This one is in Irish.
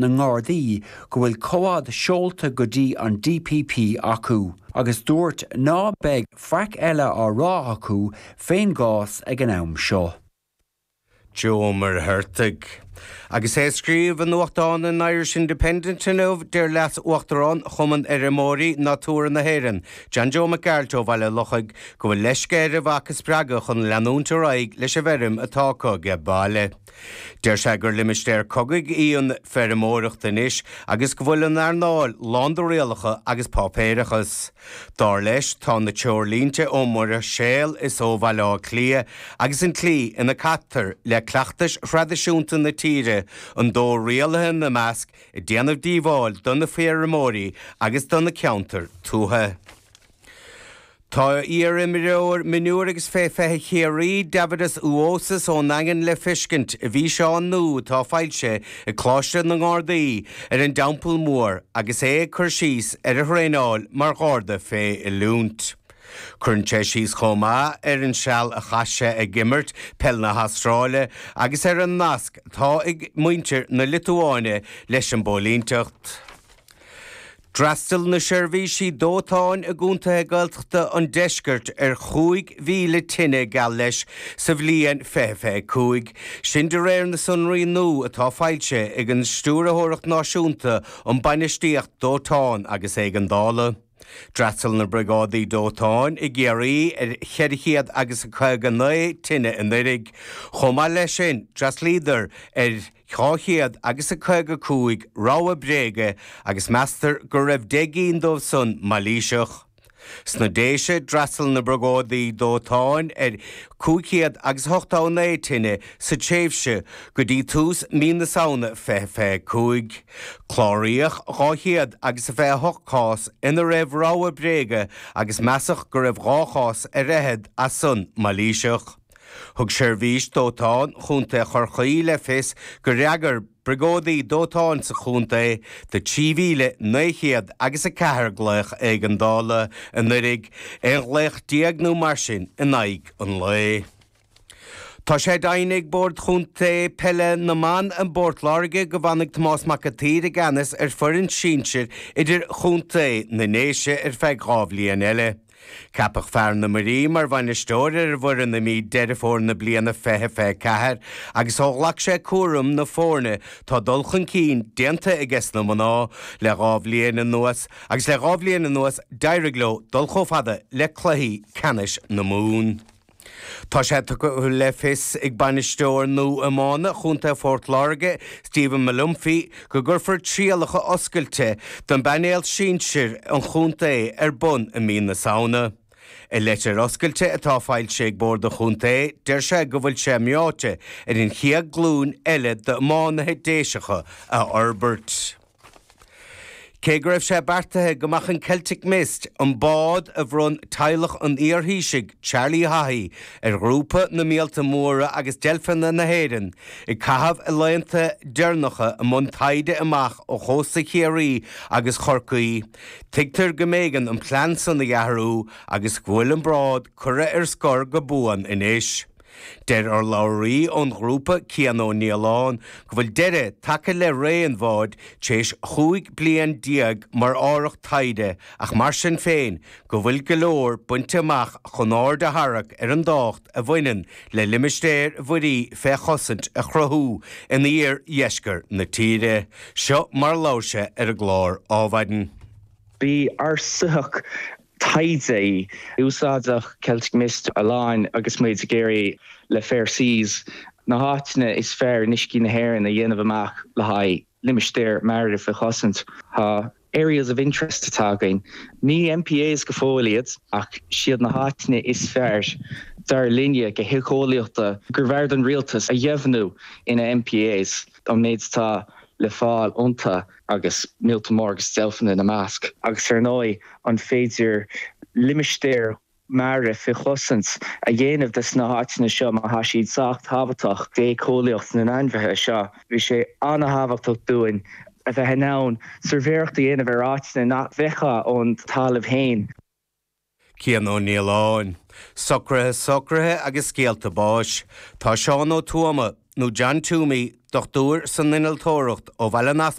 na nGardaí go bhfuil comhad seolta go dtí an DPP acu agus dúirt ná beidh faic eile á rá acu fén gcás ag an am seo. Joe Ó Muircheartaigh. Agus é ag scríobh i nuachtán an Irish Independent inniu, deir Leas-Uachtarán Chumann Fheirmeoirí Natura na hÉireann, John Joe Mac Gearailt ó Bhaile Lochaigh, go bhfuil leisce air a mhac a spreagadh chun leanúint ar aghaidh leis an bhfeirm atá acu age baile. Deir sé gur limistéar cogaidh í an feirmeoireacht anois agus go bhfuil an earnáil lán de rialacha agus páipéireachas. Dar leis, tá na treoirlínte ón mBruiséil is ó Bhaile Átha Cliath agus an tslí ina gcaitear le cleachtais thraidisiúnta na tíre, an dóigh rialaithe ina measc, ag déanamh díobháil do na feirmeoirí agus do na ceantair tuaithe. Tá iar-imreoir mionúir agus fé 20 Chiarraí, Daividas Uosas ón nDaingean le feiscint i bhfíseán nua atá foilsithe ag Coláiste na nGardaí ar an dTeampall Mór agus é ag cur síos ar a thraenáil mar Gharda fé oiliúint. Cuireann sé síos chomh maith ar an seal a chaith sé ag imirt peil na hAstráile agus ar an nasc atá ag muintir na Liotuáine leis an bpóilínteacht. D'fhreastail na seirbhísí dóiteáin i gcontaetha Gaeltachta an deiscirt ar 5,000 tine geall leis sa bhliain 2025, sin de réir na sonraí nua atá foilsithe ag an Stiúrthóireacht Náisiúnta um Bainistíocht Dóiteáin agus Éigeandála. D'fhreastail na Briogáidí Dóiteáin i gCiarraí ar 400 agus 59 tine anuiridh. Chomh maith leis sin, d'fhreastlaíodar ar. 200 agus a 55 rabhadh bréige agus meastar go raibh 10 gcinn dóibh san mailíseach. Sna Déise, d'fhreastail na Briogáidí Dóiteáin ar 500 agus 89 tine sa tréimhse go dtí tús mí na Samhna 2025. Cláraíodh 200 agus a 28 cás ina raibh rabhadh bréige agus measadh go raibh 2 chás ar fhichead as san mailíseach. Thug Seirbhís Dóiteáin Chontae Chorcaí le fios gur fhreagair briogáidí dóiteáin sa chontae do 3,900 agus 4 glaoch éigeandála anuiridh, 11 ghlaoch nó mar sin in aghaidh an lae. Tá sé deimhnithe ag Bord Chontae Peile na mBan i bPort Láirge go bhfanfaidh Tomás Mac an tSaoir i gceannas ar foireann sinsir idirchontae na nDéise ar feadh 2 bhliain eile. Ceapadh fear na Muirí mar bhainisteoir ar an bhfoireann i mí Deireadh Fómhair na bliana 2024 agus ó ghlac sé cúram na foirne tá dul chun cinn déanta aige sna mná le 2 bhliain anuas agus le 2 bhliain anuas d'éirigh leo dul chomh fada le cluichí ceannais na Mumhan. Tá sé tugtha le fios ag bainisteoir nua iomána Chontae Phort Láirge, Stephen Molumphy, go gcuirfear trialacha oscailte don bpainéal sinsir an chontae ar bun i mí na Samhna. I leitir oscailte atá foilsithe ag Bord an Chontae, deir sé go bhfuil sé meáite ar an chéad glúin eile d'iománaithe Déiseacha a fhorbairt. Cé go raibh sé beartaithe go mbeadh an Celtic Mist, an bád a bhronn teaghlach an iarThaoisigh, Charlie Haughey, ar Ghrúpa na Míolta Móra agus Deilfeanna na hÉireann, ag caitheamh a laethanta deireanacha i mbun taighde amach ó chósta Chiarraí agus Chorcaí, tuigtear go mb'éigean an plean san a athrú agus go bhfuil an bád curtha ar scor go buan anois. Deir urlabhraí ón ghrúpa, Cian Ó Nialláin, go bhfuil deireadh tagtha le ré an bháid tar éis 15 bliain mar árthach taighde ach mar sin féin go bhfuil go leor bainte amach chun aird a tharrac ar an dtábhacht a bhaineann le limistéir mhuirí fé chosaint a chruthú in iardheisceart na tíre. Seo mar a labhair sé ar an gclár Ádhmhaidin. B'í ár soitheach taighde í. Úsáideadh Celtic Mist a lán agus muid ag iarraidh le Fair Seas na háiteanna is fearr in uiscí na hÉireann a dhéanamh amach le haghaidh limistéir mara faoi chosaint. Tá Areas of Interest atá againn. Ní MPAs go fóill iad ach siad na háiteanna is fearr dar linne go héiceolaíochta gurbh fhearr don rialtas a dheimhniú ina MPAs an méid atá le fáil iontu. agus míolta móra agus deilfeanna ina measc. Agus ar ndóigh, an féidir limistéir mara faoi chosaint a dhéanamh des na háiteanna seo má tá siad sách tábhachtach d'éiceolaíocht na n-ainmhithe seo? Bhí sé an-thábhachtach dúinn a bheith in ann suirbhéireacht a dhéanamh ar áiteanna nach bhfeicfeá ón talamh féin. Cian Ó Nialláin. Socruithe socruithe agus scéalta báis. Tá Seán Ó Tuama, nó John Toomey, dochtúir san innealtóireacht ó Bhaile an.